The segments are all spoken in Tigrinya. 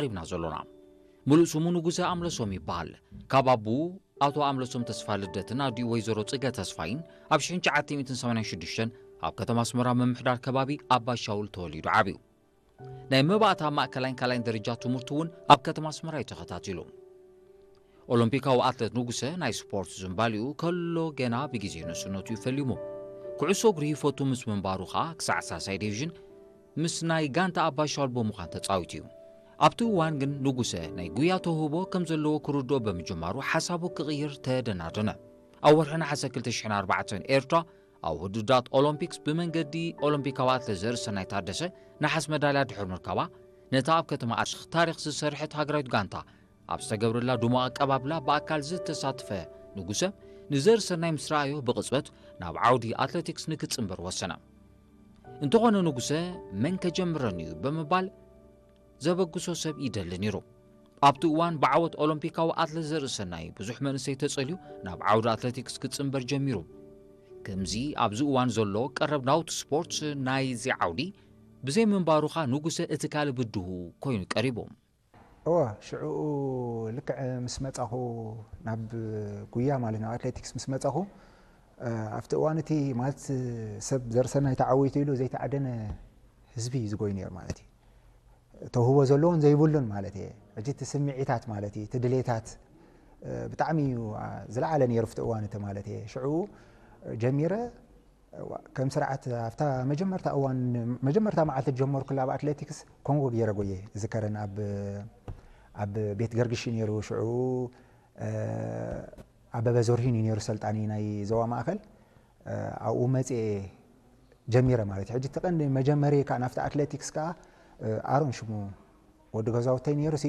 ቀሪብና ዘሎና። ሙሉእ ስሙ ንጉሰ ኣምለሶም ይበሃል። ካብ ኣቡኡ ኣቶ ኣምለሶም ተስፋ ልደትን ኣዲኡ ወይዘሮ ጽገ ተስፋይን ኣብ ሽሕን ትሽዓተ ሚእትን ሰማንያን ሽዱሽተን ኣብ ከተማ ኣስመራ ምምሕዳር ከባቢ ኣባሻውል ተወሊዱ ዓብዩ። ናይ መባእታ ማእከላይን ካልኣይን ደረጃ ትምህርቱ እውን ኣብ ከተማ ኣስመራ እዩ ተኸታቲሉ። ኦሎምፒካዊ ኣትለት ንጉሰ ናይ ስፖርት ዝንባሊኡ ከሎ ገና ብግዜ ንእስነቱ እዩ ፈሊሙ። ኩዕሶ እግሪ ይፈቱ ምስ ምንባሩ ኸኣ ክሳዕ ሳልሳይ ዲቪዥን ምስ ናይ ጋንታ ኣባሻውል ብምዃን ተጻዊቱ እዩ። ኣብቲ እዋን ግን ንጉሰ ናይ ጉያ ተውህቦ ከም ዘለዎ ክርድኦ ብምጅማሩ ሓሳቡ ክቕይር ተደናደነ። ኣብ ወርሒ ነሓሰ ክልተ ሽሕን ኣርባዕተን ኤርትራ ኣብ ውድድራት ኦሎምፒክስ ብመንገዲ ኦሎምፒካዊ ኣትለት ዘርእሰናይ ታደሰ ነሓስ መዳልያ ድሕሪ ምርካባ ነታ ኣብ ከተማ ኣሽኽ ታሪኽ ዝሰርሐት ሃገራዊት ጋንታ ኣብ ዝተገብረላ ድሙቕ ኣቀባብላ ብኣካል ዝተሳትፈ ንጉሰ ንዘርእሰናይ ምስ ረኣዮ ብቕጽበት ናብ ዓውዲ ኣትሌቲክስ ንክጽንበር ወሰነ። እንተኾነ ንጉሰ መን ከጀምረኒ እዩ ብምባል ዘበግሶ ሰብ ይደሊ ነይሩ። ኣብቲ እዋን ብዓወት ኦሎምፒካዊ ኣትለት ዘርእሰናይ ብዙሕ መንእሰይ ተጸልዩ ናብ ዓውዲ ኣትሌቲክስ ክጽንበር ጀሚሩ። ከምዚ ኣብዚ እዋን ዘሎ ቀረብ ናውቲ ስፖርት ናይዚ ዓውዲ ብዘይ ምንባሩኻ ንጉሰ እቲ ካልእ ብድሁ ኮይኑ ቀሪቡ። እወ፣ ሽዑ ልክዕ ምስ መጻኹ ናብ ጉያ ማለት ናብ ኣትሌቲክስ ምስ መጻኹ፣ እ፣ ኣብቲ እዋን እቲ ማለት ሰብ ዘርሰናይ ተዓዊቱ ኢሉ ዘይተዓደነ ህዝቢ እዩ ዝጎይ ነይሩ ማለት እዩ። ተውህቦ ዘለዎን ዘይብሉን ማለት እየ። ሕጂ እቲ ስምዒታት ማለት እዩ፣ እቲ ድሌታት፣ እ፣ ብጣዕሚ እዩ፣ አ፣ ዝለዓለ ነይሩ ኣብቲ እዋን እቲ ማለት እየ። ሽዑ ጀሚረ፣ እዋ፣ ከም ስርዓት ኣብታ መጀመርታ እዋን፣ መጀመርታ መዓልቲ ዝጀመርኩላ ኣብ ኣትሌቲክስ ኮንጎ ገይረ ጎየ ዝከረን ኣብ፣ ኣብ ቤት ገርግሽ ነይሩ ሽዑ፣ እ፣ ኣበበ ዘርሂን እዩ ነይሩ ሰልጣኒ ናይ ዞባ ማእከል። እ፣ ኣብኡ መጽየ ጀሚረ ማለት እዩ። ሕጂ እቲ ቀንዲ መጀመሪ ከኣ ናብቲ ኣትሌቲክስ ከኣ፣ እ፣ ኣሮን ሽሙ ወዲ ገዛውተይ ነይሩ ሲ፣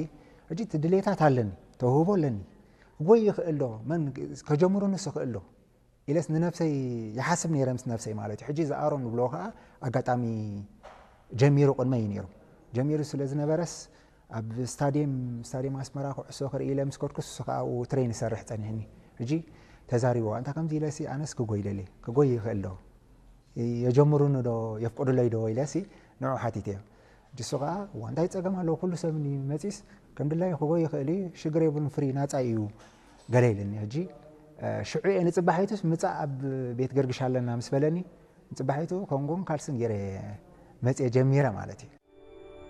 ሕጂ እቲ ድሌታት ኣለኒ፣ ተውህቦ ኣለኒ። ክጎይ ይኽእል ዶ? መን ከጀምሩንስ ይኽእል ዶ? ኢለስ ንነብሰይ ይሓስብ ነይረ ምስ ነብሰይ ማለት እዩ። ሕጂ እዚ ኣሮን ዝብልዎ ከኣ ኣጋጣሚ ጀሚሩ ቅድመይ እዩ ነይሩ። ጀሚሩ ስለ ዝነበረስ ኣብ ስታድየም፣ ስታድየም ኣስመራ ኩዕሶ ክርኢ ኢለ ምስ ከድኩስ እሱ ከኣ ኣብኡ ትሬን ይሰርሕ ጸኒሕኒ። ሕጂ ተዛሪብዎ፣ "ኣንታ ከምዚ ኢለሲ ኣነስ ክጎይ ደልየ፣ ክጎይ ይኽእል ዶ? የጀምሩኒ ዶ? የፍቅዱለይ ዶ?" ኢለሲ ንዑ ሓቲተዮ። ሕጂ እሱ ከኣ፣ "እዋ፣ እንታይ ጸገም ኣለዎ? ኩሉ ሰብ እንድዩ መጺስ ከም ድላዩ ክጎይ ይኽእል እዩ፣ ሽግር የብሉን፣ ፍሪ ናጻ እዩ" ገለ ኢልኒ። ሕጂ፣ እ፣ ሽዑ እየ ንጽባሒቱስ ምጻእ ኣብ ቤት ገርግሽ ኣለና ምስ በለኒ፣ ንጽባሒቱ ኮንጎን ካልስን ገይረ መጽየ ጀሚረ ማለት እዩ።